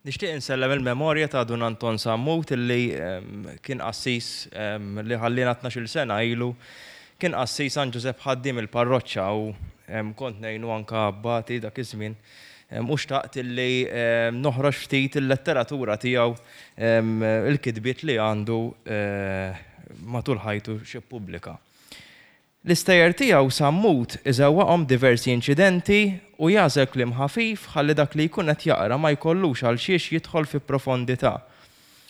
Nixtieq insellem il-memorja ta' Dun Anton Sammut illi kien qassis li ħalliena 12-il sena ilu. Kien qassis San Ġużepp Ħaddiem il-parroċċa u kont ngħinu anka abbati dak iż-żmien. U xtaqt illi noħroġ ftit il-letteratura tiegħu, il-kitbiet li għandu matul ħajtu xi ppubblika. L-istejjer tiegħu Sammut iżewwaqhom diversi inċidenti u jagħżel kliem ħafif ħalli dak li jkun qed jaqra ma jkollux għalxiex jidħol fi profondità.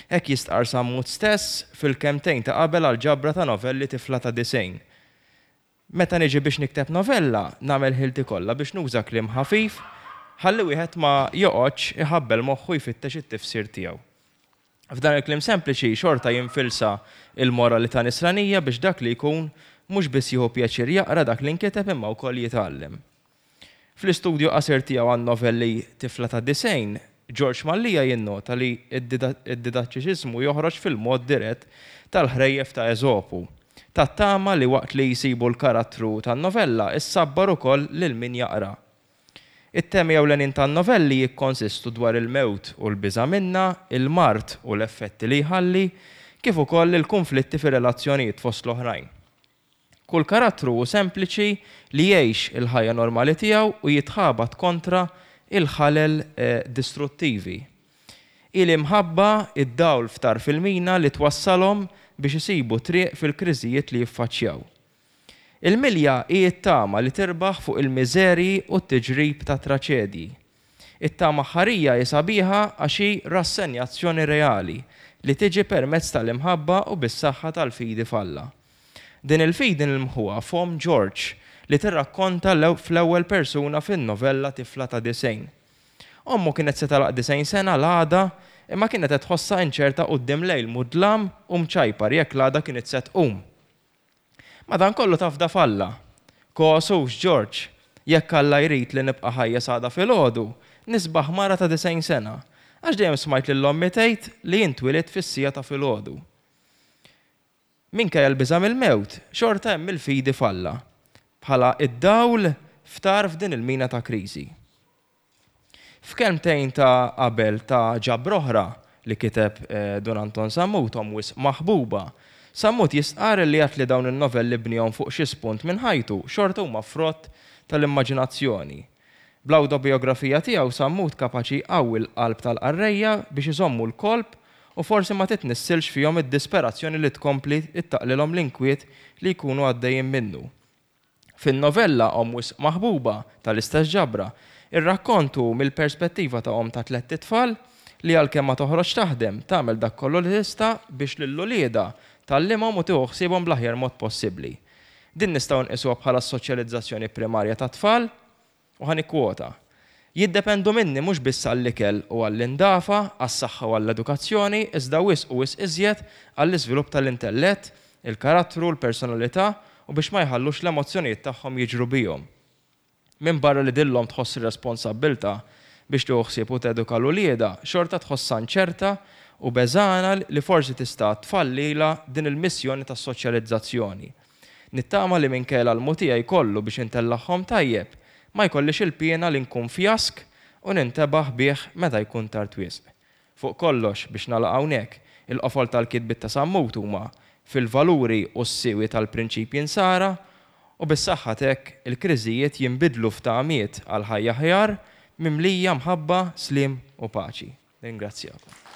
Hekk jistqarr Sammut stess fil-kelmtejn ta' qabel għall-ġabra ta' novelli Tifla ta' Disgħin. Meta niġi biex nikteb novella, nagħmel ħilti kollha biex nuża kliem ħafif ħalli wieħed ma joqgħodx iħabbel moħħu jfittex it-tifsir tiegħu. F'dan il-kliem sempliċi xorta jinfilsa l-moralità nisranija biex dak li jkun mhux biss jieħu pjaċir jaqra dak li nkiteb imma wkoll jitgħallem. Fl-istudju qasir tiegħu għan-novelli Tifla ta' Disgħin, Ġorġ Mallia jinnota li d-didattiċiżmu joħroġ fil-mod dirett tal-ħrejjef ta' Eżopu, tat-tama li waqt li jsibu l-karattru tan-novella issabbar ukoll lil min jaqra. It-temi ewlenin tan-novelli jikkonsistu dwar il-mewt u l-biża' minnha, il-mard u l-effetti li jħalli, kif ukoll il-kunflitti fir-relazzjonijiet fost l-oħrajn. Kull karattru hu sempliċi li jgħix il-ħajja normali tiegħu u jitħabat kontra il-ħalel distruttivi. Hi l-imħabba, id-dawl f'tarf il-mina li twassalhom biex isibu triq fil-kriżijiet li jiffaċċjaw. Il-milja hi t-tama li tirbaħ fuq il-miżerji u t-tiġrib tat-traċedji. It-tama aħħarija hi sabiħa għax hi rassenjazzjoni reali li tiġi permezz tal-imħabba u bis-saħħa tal-fidi f'Alla. Din il-fidi nilmħuha f'omm George li tirrakkonta fl-ewwel persuna fin-novella Tifla ta' Disgħin. Ommu kienet se tagħlaq 90 sena l-għada imma kienet qed tħossha inċerta quddiem lejl mudlam u mċajpar jekk l-għada kinitx se tqum. Madankollu tafda f'Alla. Kos hux, George? Jekk Alla jrid li nibqa' ħajja s'għada filgħodu, nisbaħ mara ta' 90 sena. Għax dejjem smajt lil ommi tgħid li jien twilidt fis-siegħa ta' filgħodu. Minkejja l-biża' mill-mewt, xorta hemm il-fidi f'Alla, bħala d-dawl f'tarf din il-mina ta' kriżi. F'kelmtejn ta' qabel ta' ġabra oħra li kiteb Dun Anton Sammut, Omm Wisq Maħbuba, Sammut jistqarr li għad li dawn in-novelli bniehom fuq xi spunt minn ħajtu, xorta huma frott tal-immaġinazzjoni. Bl-awtobijografija tiegħu Sammut kapaċi jqawwi l-qalb tal-qarrejja biex iżommu l-kolp u forsi ma titnissilx fihom id-disperazzjoni li tkompli ttaqlilhom l-inkwiet li jkunu għaddejjin minnu. Fin-novella Omm Wisq Maħbuba, tal-istess ġabra, ir-rakkont hu mill-perspettiva ta' omm ta' tlett itfal li għalkemm ma toħroġx taħdem, tagħmel dak kollu li tista' biex lil uliedha tgħallimhom u tieħu ħsiebhom bl-aħjar mod possibbli. Din nistgħu nqisuha bħala s-soċjalizzazzjoni primarja tat-tfal. U ħa nikkwota, Jiddependu minni mhux biss għall-ikel u għall-indafa, għas-saħħa u għall-edukazzjoni, iżda wisq u wisq iżjed għall-iżvilupp tal-intellett, il-karattru, l-personalità u biex ma jħallux l-emozzjonijiet tagħhom jiġru bihom. Minbarra li din l-omm tħoss ir-responsabbiltà biex tieħu ħsieb u teduka 'l uliedha, xorta tħossha inċerta u beżgħana li forsi tista' tfallilha din il-missjoni tas-soċjalizzazzjoni. Nittama li minkejja l-almu tiegħi kollu biex intellagħhom tajjeb, ma jkollix il-piena li nkun fjask u nintebaħ bih meta jkun tard wisq. Fuq kollox, biex nagħlaq hawnhekk, il-qofol tal-kitbiet ta' Sammut huma fil-valuri u s-siwi tal-prinċipji Nsara u bis-saħħa t'hekk il-kriżijiet jinbidlu f'tamiet għal ħajja aħjar mimlija mħabba, sliem u paċi. Nirringrazzjakom.